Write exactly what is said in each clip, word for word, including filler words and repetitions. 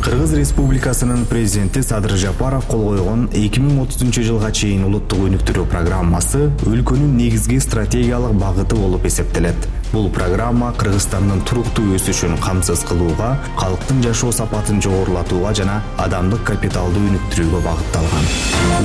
Кыргыз Республикасынын президенти Садыр Жапаров кол койгон эки миң отузунчу жылга чейин улуттук өнүктүрүү программасы өлкөнүн негизги стратегиялык багыты болуп эсептелет. Бул программа Кыргызстандын туруктуу өсүшүн камсыз кылууга, калктын жашоо сапатын жогорулатууга жана адамдык капиталды өнүктүрүүгө багытталган.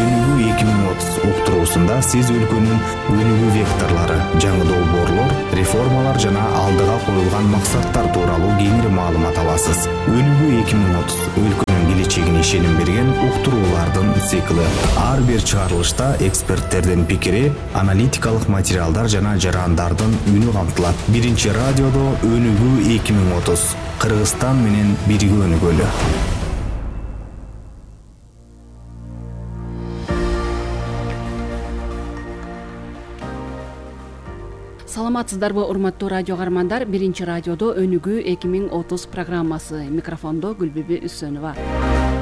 Өнүгүү эки миң отуз уктуруусунда сиз өлкөнүн өнүгүү векторлору, жаңы долбоорлор, реформалар жана алдыга коюлган максаттар тууралуу кеңири маалымат аласыз. Өнүгүү эки миң отуз өлкөнүн келечегине ишеним берген уктуруулардын цикли. Ар бир чыгарылышта эксперттердин пикири, аналитикалык материалдар жана жарандардын үнү камтылат. Биринчи радиодо Өнүгүү эки миң отуз. Кыргызстан менен бирге өнүгөлү. Саламатсыздарбы, урматтуу радио каармандар? Биринчи радиодо Өнүгүү эки миң отуз программасы. Микрофондо Гүлбүбү Үсөнова.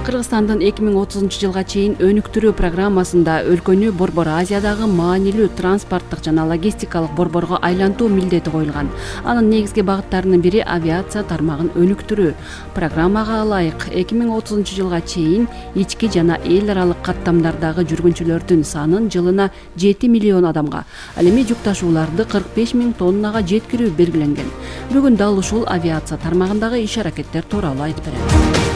Кыргызстандын эки миң отузунчу жылга чейин өнүктүрүү программасында өлкөнү Борбор Азиядагы маанилүү транспорттук жана логистикалык борборго айлантуу милдети коюлган. Анын негизги багыттарынын бири авиация тармагын өнүктүрүү. Программага ылайык эки миң отузунчу жылга чейин ички жана эл аралык каттамдардагы жүргүнчүлөрдүн санын жылына жети миллион адамга, ал эми жүк ташууларды кырк беш миң тоннага жеткирүү белгиленген. Бүгүн дал ушул авиация тармагындагы иш аракеттер тууралуу айтып берем.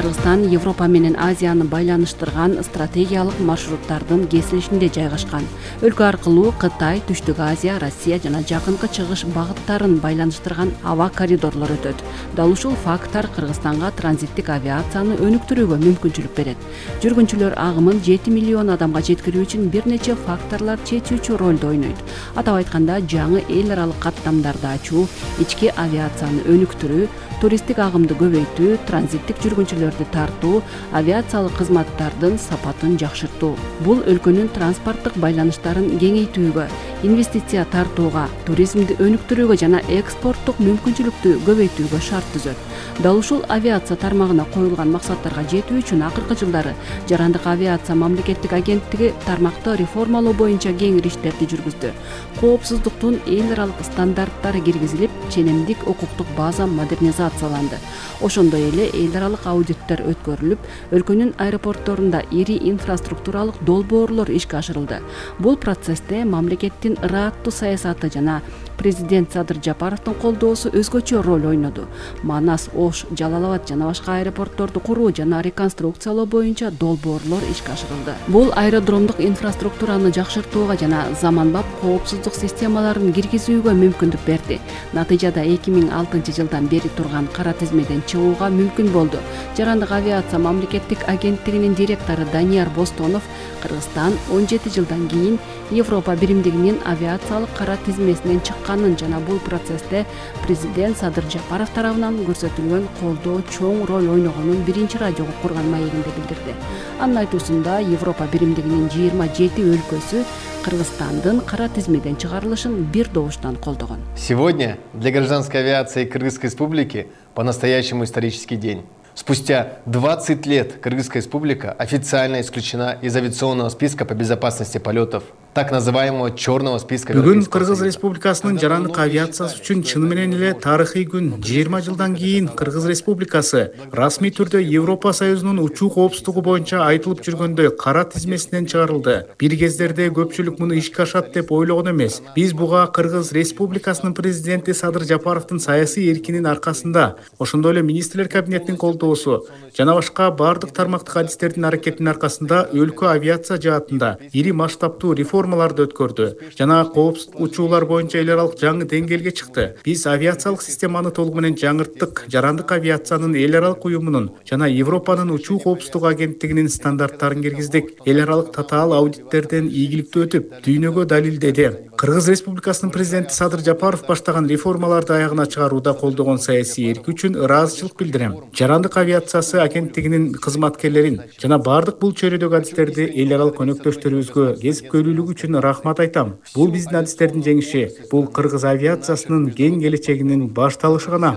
Кыргызстан Европа менен Азияны байланыштырган стратегиялык маршруттардын кесилишинде жайгашкан. Өлкө аркылуу Кытай, Түштүк Азия, Россия жана Жакынкы Чыгыш багыттарын байланыштырган аба коридорлор өтөт. Дал ушул факттар Кыргызстанга транзиттик авиацияны өнүктүрүүгө мүмкүнчүлүк берет. Жүргүнчүлөр агымын жети миллион адамга жеткирүү үчүн бир нече факторлор чечүүчү ролду ойнойт. Атап айтканда, жаңы эл аралык каттамдарды ачуу, ички авиацияны өнүктүрүү, туристтик агымды көбөйтүү, транзиттик жүргүнчүлөрдү тартуу, авиациялык кызматтардын сапатын жакшыртуу. Бул өлкөнүн транспорттук байланыштарын кеңейтүүгө, инвестиция тартууга, туризмди өнүктүрүүгө жана экспорттук мүмкүнчүлүктү көбөйтүүгө шарт түзөт. Дал ушул авиация тармагына коюлган максаттарга жетүү үчүн акыркы жылдары Жарандык авиация мамлекеттик агенттиги тармакты реформалоо боюнча кеңири иштерди жүргүздү. Коопсуздуктун эл аралык стандарттары киргизилип, ченемдик укуктук база модернизацияланды. Ошондой эле эл аралык аудиттер өткөрүлүп, өлкөнүн аэропортторунда ири инфраструктуралык долбоорлор ишке ашырылды. Бул процессте мамлекеттин ырааттуу саясаты жана президент Садыр Жапаровдун колдоосу өзгөчө роль ойноду. Манас, Ош, Жалал Абад жана башка аэропортторду куруу жана реконструкциялоо боюнча долбоорлор ишке ашырылды. Бул аэродромдук инфраструктураны жакшыртууга жана заманбап коопсуздук системаларын киргизүүгө мүмкүндүк берди. Натыйжада эки миң алтынчы жылдан бери турган кара тизмеден чыгууга мүмкүн болду. Жарандык авиация мамлекеттик агенттигинин директору Данияр Бостонов Кыргызстан он жети жылдан кийин Европа биримдигинин авиациялык кара тизмесинен чыкканын жана бул процессте президент Садыр Жапаров тарабынан көрсөтүлгөн колдоо чоң роль ойногонун биринчи радиого курган маегинде билдирди. Анын айтуусунда Европа биримдигинин жыйырма жети өлкөсү Кыргызстандын кара тизмеден чыгарылышын бир добуштан колдогон. Сегодня для гражданской авиации Кыргызской Республики по-настоящему исторический день. Спустя двадцать лет Кыргызская Республика официально исключена из авиационного списка по безопасности полетов, так называемого черного списка. Бүгүн Кыргыз Республикасынын жарандык авиациясы үчүн чын менен эле тарыхый күн. жыйырма жылдан кийин Кыргыз Республикасы расмий түрдө Европа Союзунун учуу коопсуздугу боюнча айтылып жүргөндөй кара тизмесинен чыгарылды. Бир кездерде көпчүлүк муну ишке ашат деп ойлогон эмес. Биз буга Кыргыз Республикасынын президенти Садыр Жапаровдун саясий эркинин аркасында, ошондой эле министрлер кабинетинин колдоосу жана башка бардык тармактык адистердин аракетинин аркасында өлкө авиация жаатында ири масштабтуу реформаларды өткөрдү жана коопсуз учуулар боюнча эл аралык жаңы деңгээлге чыкты. Биз авиациялык системаны толугу менен жаңырттык. Жарандык авиациянын эл аралык уюмунун жана Европанын учуу коопсуздугу агенттигинин стандарттарын киргиздик. Эл аралык татаал аудиттерден ийгиликтүү өтүп, дүйнөгө далилдеди. Кыргыз Республикасынын президенти Садыр Жапаров баштаган реформаларды аягына чыгарууда колдогон саясий эрки үчүн ыраазычылык билдирем. Жарандык авиациясы агенттигинин кызматкерлерин жана бардык бул чөйрөдөгү адистерди эл аралык өнөктөштөрүбүзгө кесипкөйлүүлүгү үчүн рахмат айтам. Бул биздин адистердин жеңиши, бул Кыргыз авиациясынын кең келечегинин башталышы гана.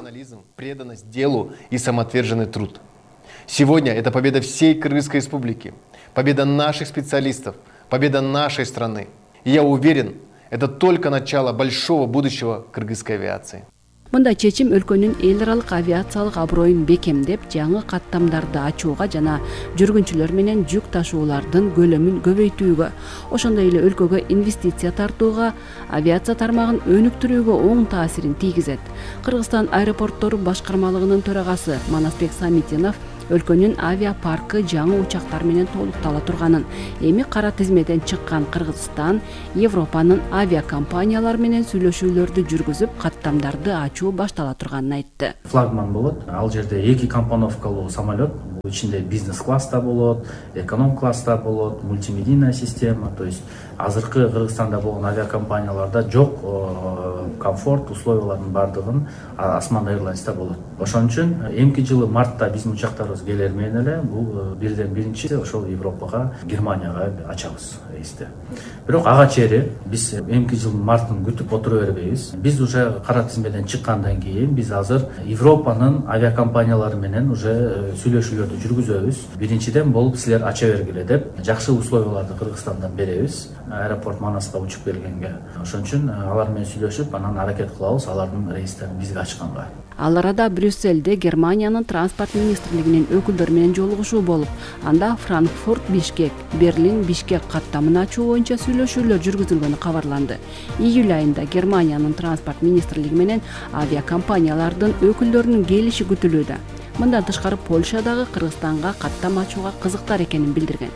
Преданность делу и самоотверженный труд. Сегодня это победа всей Кыргызской Республики, победа наших специалистов, победа нашей страны. И я уверен, это только начало большого будущего кыргызской авиации. Мындай чечим өлкөнүн эл аралык авиациялык аброюн бекемдеп, жаңы каттамдарды ачууга жана жүргүнчүлөр менен жүк ташуулардын көлөмүн көбөйтүүгө, ошондой эле өлкөгө инвестиция тартууга, авиация тармагын өнүктүрүүгө оң таасирин тийгизет. Кыргызстан аэропорттору башкармалыгынын төрагасы Манасбек Самитинов өлкөнүн авиапаркы жаңы учактар менен толуктала турганын, эми кара тизмеден чыккан Кыргызстан Европанын авиакомпаниялары менен сүйлөшүүлөрдү жүргүзүп, каттамдарды ачуу баштала турганын айтты. Флагман болот. Ал жерде эки компоновкалуу самолет, ичинде бизнес класста болот, эконом класста болот, мультимедийная система, то есть азыркы Кыргызстанда болгон авиакомпанияларда жок комфорт условиялардын бардыгын Осман Airlines'та болот. Ошон үчүн эмки жылы мартта биздин учактарыбыз келер менен эле бул бирден биринчи ошол Европага, Германияга ачабыз рейсти. Бирок ага чейин биз эмки жылдын мартын күтүп отура бербейбиз. Биз уже кара тизмеден чыккандан кийин биз азыр Европанын авиакомпаниялары менен уже сүйлөшүүлөрдү жүргүзөбүз. Биринчиден болуп силер ача бергиле деп, жакшы условияларды Кыргызстандан беребиз. Аэропорт Манаска учуп келгенге. Ошон үчүн алар менен сүйлөшүп, анан аракет кылабыз алардын рейстерин бизге ачканга. Ал арада Брюссельде Германиянын транспорт министрлигинин өкүлдөрү менен жолугушуу болуп, анда Франкфурт, Бишкек, Берлин, Бишкек каттамын ачуу боюнча сүйлөшүүлөр жүргүзүлгөнү кабарланды. Июль айында Германиянын транспорт министрлиги менен авиакомпаниялардын өкүлдөрүнүн келиши күтүлүүдө. Мындан тышкары Польша дагы Кыргызстанга каттам ачууга кызыктар экенин билдирген.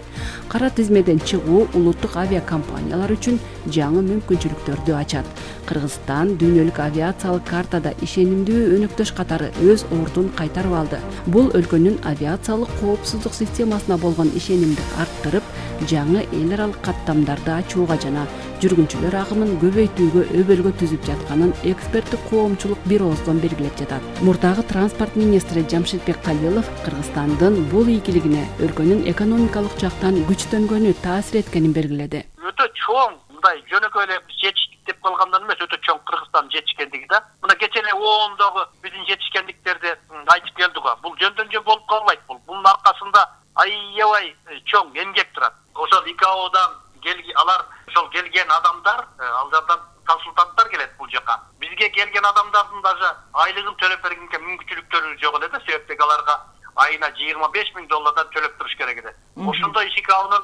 Кара тизмеден чыгуу улуттук авиакомпаниялар үчүн жаңы мүмкүнчүлүктөрдү ачат. Кыргызстан дүйнөлүк авиациялык картада ишенимдүү өнөктөш катары өз ордун кайтарып алды. Бул өлкөнүн авиациялык коопсуздук системасына болгон ишенимди арттырып, жаңы эл аралык каттамдарды ачууга жана жүргүнчүлөр агымын көбөйтүүгө өбөлгө түзүп жатканын эксперттик коомчулук бир ооздон белгилеп жатат. Мурдагы транспорт министри Жамшитбек Калилов Кыргызстандын бул ийгилигине өлкөнүн экономикалык жактан күчтөнгөнү таасир эткенин белгиледи. Өтө чоң мындай жөнөкөй эле жетиштик деп калгандан эмес, өтө чоң Кыргызстан жетишкендиги да. Мына кечээ эле оондогу биздин жетишкендиктерди айтып келдик го. Бул жөндөн жөн болуп калбайт бул. Бунун аркасында аябай чоң эмгек турат. Ошол ИКАОдан алар ошол келген адамдар, ал жактан консультанттар келет бул жака. Бизге келген адамдардын даже айлыгын төлөп бергенге мүмкүнчүлүктөрү жок эле да, себептеги аларга айына жыйырма беш миң доллардан төлөп туруш керек эле. Ошондой ИКАОнун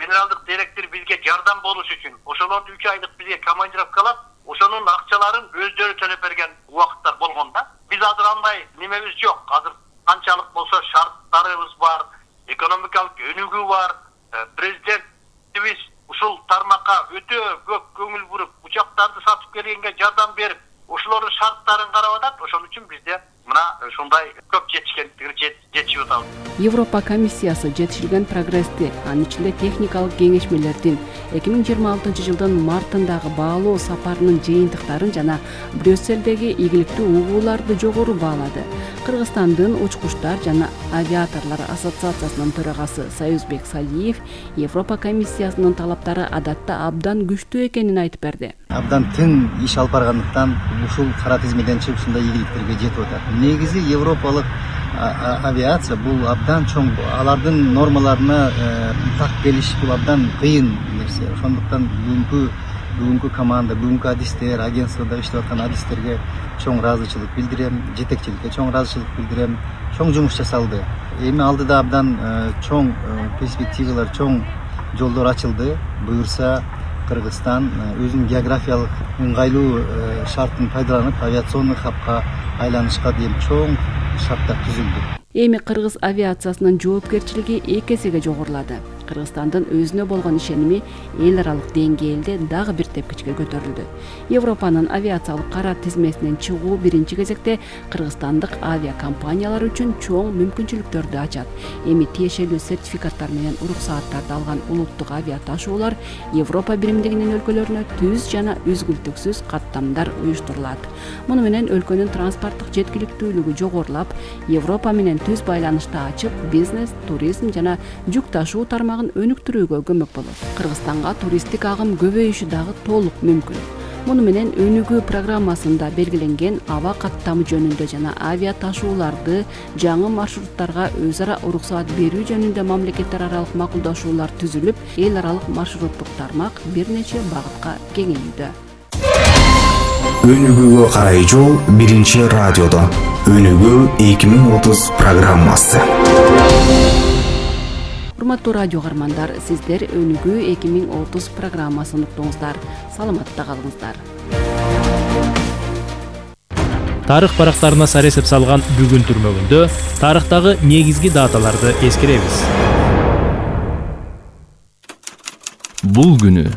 генералдык директори бизге жардам болуш үчүн ошолорду үч айлык бизге командировкалап, ошонун акчаларын өздөрү төлөп берген убакыттар болгон да. Биз азыр андай немебиз жок. Азыр канчалык болсо шарттарыбыз бар, экономикалык өнүгүү бар. Президентибиз ушул тармакка өтө көп көңүл буруп, учактарды сатып келгенге жардам берип, ошолордун шарттарын карап атат. Ошон үчүн бизде мына ушундай көп жетишкендиктер жетишип атабыз. Европа комиссиясы жетишилген прогрессти, анын ичинде техникалык кеңешмелердин эки миң жыйырма алтынчы жылдын мартындагы баалоо сапарынын жыйынтыктарын жана Брюссельдеги ийгиликтүү угууларды жогору баалады. Кыргызстандын учкучтар жана авиаторлор ассоциациясынын төрагасы Союзбек Салиев Европа комиссиясынын талаптары адатта абдан күчтүү экенин айтып берди. Абдан тең иш алып баргандыктан ушул кара тизмеден чыгып ушундай ийгиликтерге жетип атат. Негизи европалык авиация бул абдан чоң, алардын нормаларына так келиш бул абдан кыйын нерсе. Ошондуктан бүгүнкү бүгүнкү команда, бүгүнкү адистер, агентствода иштеп аткан адистерге чоң ыраазычылык билдирем, жетекчиликке чоң ыраазычылык билдирем. Чоң жумуш жасалды. Эми алдыда абдан чоң перспективалар, чоң жолдор ачылды. Буюрса Кыргызстан өзүнүн географиялык ыңгайлуу шартын пайдаланып, авиационный хабка айланышка дейин чоң шарттар түзүлдү. Эми кыргыз авиациясынын жоопкерчилиги эки эсеге жогорулады. Кыргызстандын өзүнө болгон ишеними эл аралык деңгээлде дагы бир тепкичке көтөрүлдү. Европанын авиациялык кара тизмесинен чыгуу биринчи кезекте кыргызстандык авиакомпаниялар үчүн чоң мүмкүнчүлүктөрдү ачат. Эми тиешелүү сертификаттар менен уруксааттарды алган улуттук авиа ташуулар Европа биримдигинин өлкөлөрүнө түз жана үзгүлтүксүз каттамдар уюштурулат. Муну менен өлкөнүн транспорттук жеткиликтүүлүгү жогорулап, Европа менен түз байланышты ачып, бизнес, туризм жана жүк ташуу тармагын өнүктүрүүгө көмөк болот. Кыргызстанга туристтик агым көбөйүшү дагы толук мүмкүн. Муну менен өнүгүү программасында белгиленген аба каттамы жөнүндө жана авиа ташууларды жаңы маршруттарга өз ара уруксаат берүү жөнүндө мамлекеттер аралык макулдашуулар түзүлүп, эл аралык маршруттук тармак бир нече багытка кеңейүүдө. Өнүгүүгө карай жол биринчи радиодо. Өнүгүү эки миң отуз программасы. Урматтуу радио каармандар, сиздер Өнүгүү эки миң отуз программасын уктуңуздар. Саламатта калыңыздар. Тарых барактарына сар эсеп салган бүгүн түрмөгүндө тарыхтагы негизги даталарды эскеребиз. Бул күнү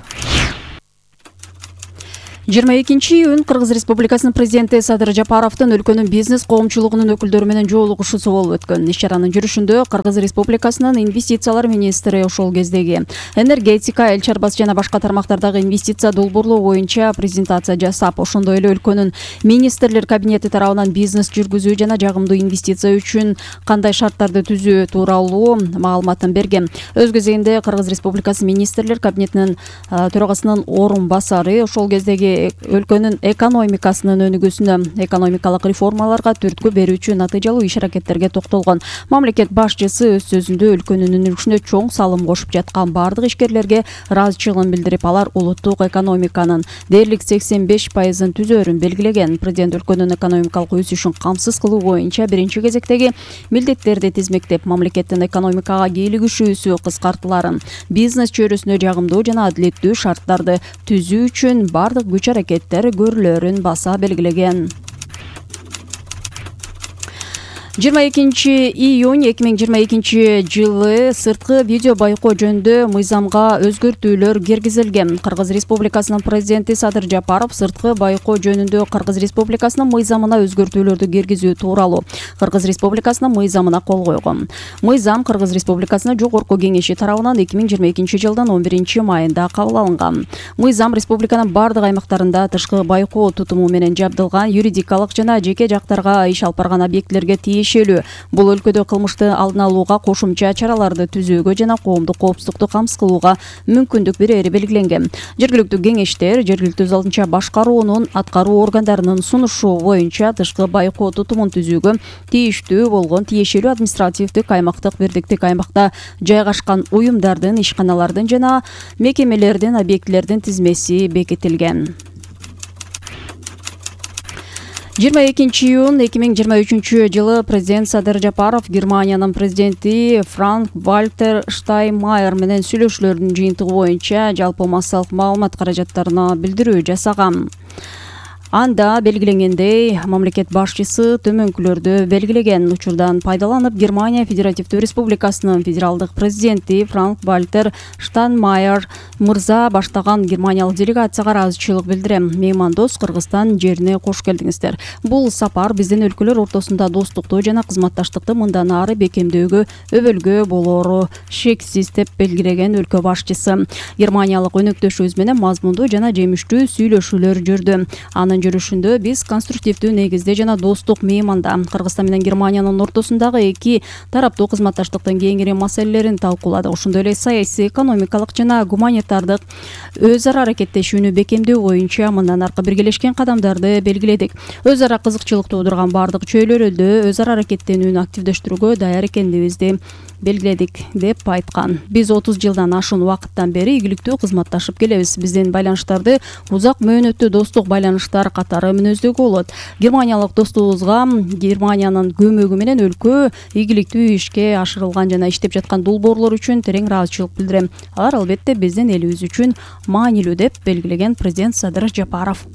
жыйырма экинчи июнь Кыргыз Республикасынын президенти Садыр Жапаровдун өлкөнүн бизнес коомчулугунун өкүлдөрү менен жолугушуусу болуп өткөн. Иш чаранын жүрүшүндө Кыргыз Республикасынын инвестициялар министри ошол кездеги энергетика, эл чарбасы жана башка тармактардагы инвестиция долбоорлоо боюнча презентация жасап, ошондой эле өлкөнүн министрлер кабинети тарабынан бизнес жүргүзүү жана жагымдуу инвестиция үчүн кандай шарттарды түзүү тууралуу маалыматын берген. Өз кезегинде Кыргыз Республикасы министрлер кабинетинин төрагасынын орун басары ошол кездеги өлкөнүн экономикасынын өнүгүүсүнө, экономикалык реформаларга түрткү берүүчү натыйжалуу иш-аракеттерге токтолгон. Мамлекет башчысы өз сөзүндө өлкөнүн өнүгүшүнө чоң салым кошуп жаткан бардык ишкерлерге ыраазычылыгын билдирип, алар улуттук экономиканын дээрлик сексен беш пайызын түзөөрүн белгилеген. Президент өлкөнүн экономикалык өсүшүн камсыз кылуу боюнча биринчи кезектеги милдеттерди тизмектеп, мамлекеттин экономикага кийлигишүүсү кыскартыларын, бизнес чөйрөсүнө жагымдуу жана адилеттүү шарттарды түзүү үчүн бардык күч аракеттер көрүлөрүн баса белгилеген. жыйырма экинчи июнь эки миң жыйырма экинчи жылы сырткы видео байкоо жөнүндө мыйзамга өзгөртүүлөр киргизилген. Кыргыз Республикасынын президенти Садыр Жапаров сырткы байкоо жөнүндө Кыргыз Республикасынын мыйзамына өзгөртүүлөрдү киргизүү тууралуу Кыргыз Республикасынын мыйзамына кол койгон. Мыйзам Кыргыз Республикасынын жогорку кеңеши тарабынан эки миң жыйырма экинчи жылдын он биринчи майында кабыл алынган. Мыйзам республиканын бардык аймактарында тышкы байкоо тутуму менен жабдылган юридикалык жана жеке жактарга иш алып барган объектилерге тиешелүү. Бул өлкөдө кылмышты алдын алууга, кошумча чараларды түзүүгө жана коомдук коопсуздукту камсыз кылууга мүмкүндүк берери белгиленген. Жергиликтүү кеңештер жергиликтүү залынча башкаруунун аткаруу органдарынын сунушу боюнча тышкы байкоо тутумун түзүүгө тийиштүү болгон тиешелүү административдик аймактык бирдиктик аймакта жайгашкан уюмдардын, ишканалардын жана мекемелердин, объектилердин тизмеси бекитилген. жыйырма экинчи июнь эки миң жыйырма үчүнчү жылы президент Садыр Жапаров Германиянын президенти Франк Вальтер Штайнмайер менен сүйлөшүүлөрдүн жыйынтыгы боюнча жалпы массалык маалымат каражаттарына билдирүү жасаган. Анда белгиленгендей, мамлекет башчысы төмөнкүлөрдү белгилеген. Учурдан пайдаланып, Германия Федеративдүү Республикасынын федералдык президенти Франк Вальтер Штайнмайер мырза баштаган германиялык делегацияга ыраазычылык билдирем. Меймандос Кыргызстан жерине кош келдиңиздер. Бул сапар биздин өлкөлөр ортосунда достукту жана кызматташтыкты мындан ары бекемдөөгө, өбөлгө болоору шексиз деп белгилеген өлкө башчысы. Германиялык өнөктөшүбүз менен мазмундуу жана жемиштүү сүйлөшүүлөр жүрдү. Анын жүрүшүндө биз конструктивдүү негизде жана достук мейманда Кыргызстан менен Германиянын ортосундагы эки тараптуу кызматташтыктын кеңири маселелерин талкууладык. Ошондой эле саясий, экономикалык жана гуманитардык өз ара аракеттешүүнү бекемдөө боюнча мындан аркы биргелешкен кадамдарды белгиледик. Өз ара кызыкчылык туудурган бардык чөйлөрдө өз ара аракеттенүүнү активдештирүүгө даяр экендигибизди белгиледик деп айткан. Биз отуз жылдан ашуун убакыттан бери ийгиликтүү кызматташып келебиз. Биздин байланыштарды узак мөөнөттүү достук байланыштар катары мүнөздөгө болот. Германиялык достугубузга Германиянын көмөгү менен өлкө ийгиликтүү ишке ашырылган жана иштеп жаткан долбоорлор үчүн терең ыраазычылык билдирем. Алар албетте биздин элибиз үчүн маанилүү деп белгилеген президент Садыр Жапаров.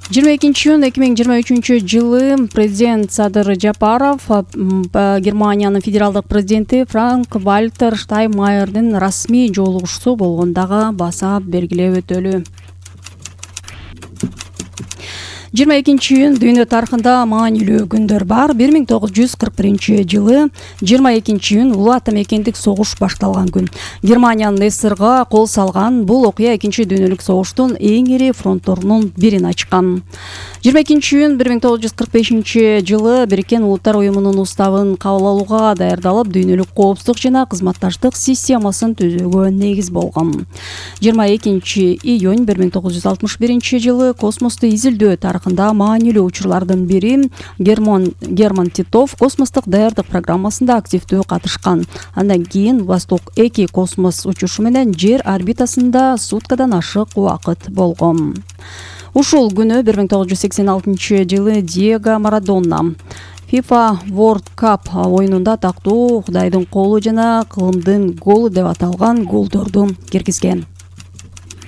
жыйырма экинчи июнь эки миң жыйырма үчүнчү жылы президент Садыр Жапаров Германиянын федералдык президенти Франк Вальтер Штайнмайердин расмий жолугушуусу болгондагы баса белгилеп өтөлү. жыйырма экинчи июнь дүйнө тарыхында маанилүү күндөр бар. бир миң тогуз жүз кырк биринчи жылы жыйырма экинчи июнь улуу ата мекендик согуш башталган күн. Германиянын СССРга кол салган бул окуя экинчи дүйнөлүк согуштун эң ири фронтторунун бирин ачкан. жыйырма экинчи июнь бир миң тогуз жүз кырк бешинчи жылы Бириккен Улуттар уюмунун уставын кабыл алууга даярдалып, дүйнөлүк коопсуздук жана кызматташтык системасын түзүүгө негиз болгон. жыйырма экинчи июнь бир миң тогуз жүз алтымыш биринчи жылы космосту изилдөө тарыхы тарыхында маанилүү учурлардын бири Герман Герман Титов космостук даярдык программасында активдүү катышкан. Андан кийин Восток эки космос учушу менен Жер орбитасында суткадан ашык убакыт болгон. Ушул күнү бир миң тогуз жүз сексен алтынчы жылы Диего Марадона FIFA World Cup оюнунда тактуу Кудайдын колу жана кылымдын голу деп аталган голдорду киргизген.